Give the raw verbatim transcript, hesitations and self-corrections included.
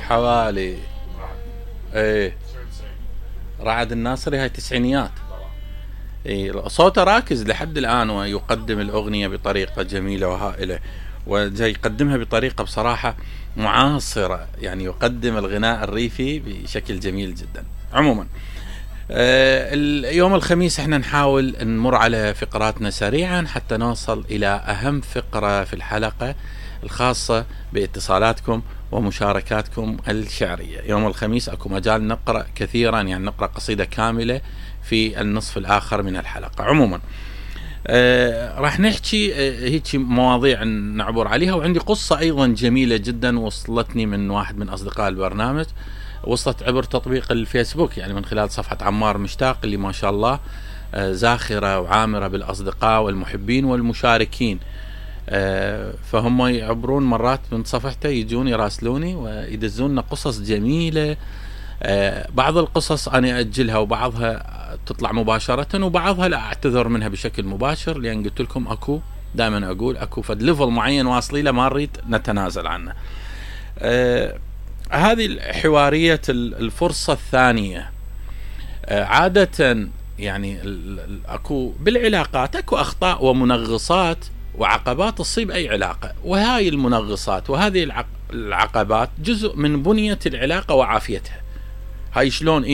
حوالي ايه رعد الناصري، هاي تسعينيات. إيه صوته راكز لحد الآن ويقدم الأغنية بطريقة جميلة وهائلة، وجاي يقدمها بطريقة بصراحة معاصرة، يعني يقدم الغناء الريفي بشكل جميل جدا. عموما آه اليوم الخميس احنا نحاول نمر على فقراتنا سريعا حتى نوصل إلى أهم فقرة في الحلقة الخاصة باتصالاتكم ومشاركاتكم الشعرية. يوم الخميس اكو مجال نقرأ كثيرا، يعني نقرأ قصيدة كاملة في النصف الآخر من الحلقة. عموما آه راح نحكي آه هيك مواضيع نعبر عليها، وعندي قصة أيضا جميلة جدا وصلتني من واحد من أصدقاء البرنامج، وصلت عبر تطبيق الفيسبوك، يعني من خلال صفحة عمار مشتاق اللي ما شاء الله آه زاخرة وعامرة بالأصدقاء والمحبين والمشاركين. آه فهم يعبرون مرات من صفحته، يجون يراسلوني ويدزون قصص جميلة. آه بعض القصص أنا أجلها وبعضها تطلع مباشرة وبعضها لا أعتذر منها بشكل مباشر، لأن قلت لكم أكو دائما أقول أكو فد ليفل معين واصلي له ما نريد نتنازل عنه. آه هذه حوارية الفرصة الثانية. آه عادة يعني أكو بالعلاقات أكو أخطاء ومنغصات وعقبات تصيب أي علاقة، وهاي المنغصات وهذه العقبات جزء من بنية العلاقة وعافيتها. هاي شلون